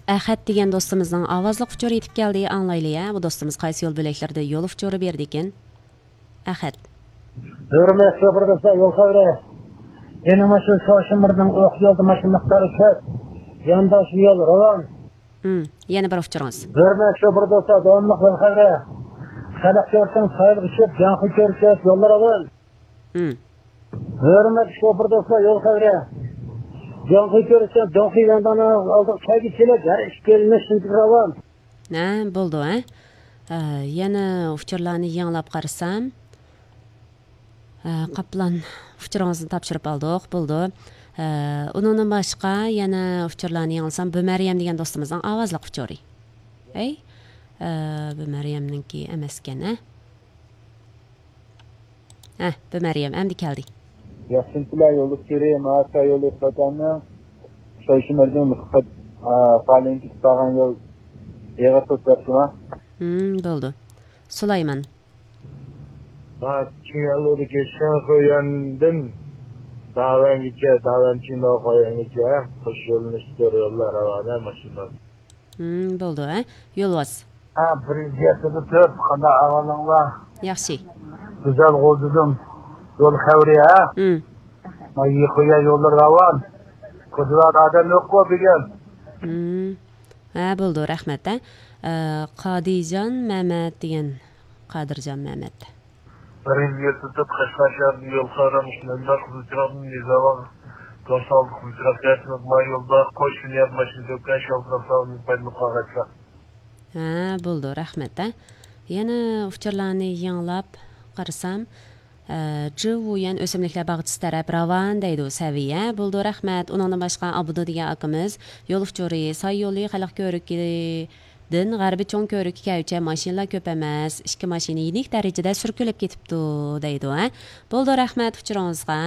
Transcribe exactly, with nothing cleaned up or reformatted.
ئەخەت دېگەن دوستىمىزنىڭ ئاۋازلىق ئۇچۇرى يېتىپ كەلدى، ئاڭلايلى ھە، بۇ دوستىمىز قايسى يول بۆلەكلىرىدە يول ئۇچۇرى بېرىدىكىن؟ ئەخەت. ھۆرمەتلىك شوپۇر دوستلار، يول خەۋىرى. يەنە مانا شۇ شوشىمىرنىڭ ئوق يولدا ماشىنا مىقدارى كۆپ. يانداش يول راۋان. ھىم، يەنە بىر ئۇچۇرىڭىز. ھۆرمەتلىك شوپۇر دوستلار، داۋاملىق يول خەۋىرى. خەلق كۆرسەڭ سايىلغا چۈشۈپ، جاڭخۇي كۆرسەت يوللار راۋان. ھىم. ھۆرمەتلىك شوپۇر دوستلار، يول خەۋىرى. جاڭخۇي كۆرسەت، جاڭخۇي ياندانىڭ ئالدىغا كەلگۈچىلىك ھەر ئىككى يۆنىلىش راۋان. ھە، بولدى ھە. ئە، يەنە ئۇچۇرلارنى يېڭىلاپ قارىسام، ئە، قاپلان ئۇچۇرىڭىزنى تاپشۇرۇپ ئالدۇق، بولدى. ئە، ئۇنىڭدىن باشقا يەنە ئۇچۇرلارنى يېڭىلىسام، بۇ مەريەم دېگەن دوستىمىزنىڭ ئاۋازلىق ئۇچۇرى. ئەي، ئە، بۇ مەريەمنىڭكى ئەمەسكەن ھە. ھە، بۇ مەريەم ئەمدى كەلدى. ياخشىمۇسىلەر يولدىشلىرى، ماۋۇ يولدىشىڭىزنىڭ شوشىمىردىن مۇسقۇت پالېنگە كېتىپ بارغان يول ئېغىر توسۇلۇپتۇما؟ ھىم، بولدى. سۇلايمان. ھا، چىڭيالۇدىكى شەنخۇيەندىن داۋەنگىچە، داۋەن چىڭداۋخۇيەنگىچە قوش يۆنىلىشتۇر يوللار راۋانە ماشىنىلار. ھىم، بولدى ھە. يولۋاس. ھە، بىر يۈز يەتتە تۆت، قانداق ئەھۋالىڭلار؟ ياخشى. گۈزەل غوزىدىن يول خەۋىرى ھە؟ ھىم. ما يىخۇيا يوللار راۋان. كوچىلاردا ئادەم يوققۇ بۈگۈن. ھىم. ھە، بولدى، رەھمەت ھە. ئە، قادىرجان مەمەت دېگەن، قادىرجان مەمەت. بىر يۈز يەتتە تۆت، قەشقەر شەھىرىدىن يول خەۋىرى مۇشۇنداق، قىزىلچىراغدىن نىزاۋاغ توقسان ئالتە، قىزىلچىراغ كەنتىنىڭ ما يولدا قوش لىنىيە ماشىنا تۆككەن شوپۇرلار ساۋابىدىن پايدىلىنىپ قالغاچقا. ھە، بولدى، رەھمەت ھە. يەنە ئۇچۇرلارنى يېڭىلاپ قارىسام، ئە، جىۋۇيەن ئۆسۈملۈكلەر باغچىسى تەرەپ راۋان دەيدۇ سەۋىيە. بولدى، رەھمەت. ئۇنىڭدىن باشقا ئابدۇ دېگەن ئاكىمىز يول ئۇچۇرى، ساي يولى خەلق كۆۋرۈكىدىن غەربىي چوڭ كۆۋرۈككە كەلگۈچە ماشىنىلار كۆپ ئەمەس، ئىككى ماشىنا يېنىك دەرىجىدە سۈركىلىپ كېتىپتۇ دەيدۇ ھە. بولدى، رەھمەت ئۇچۇرىڭىزغا.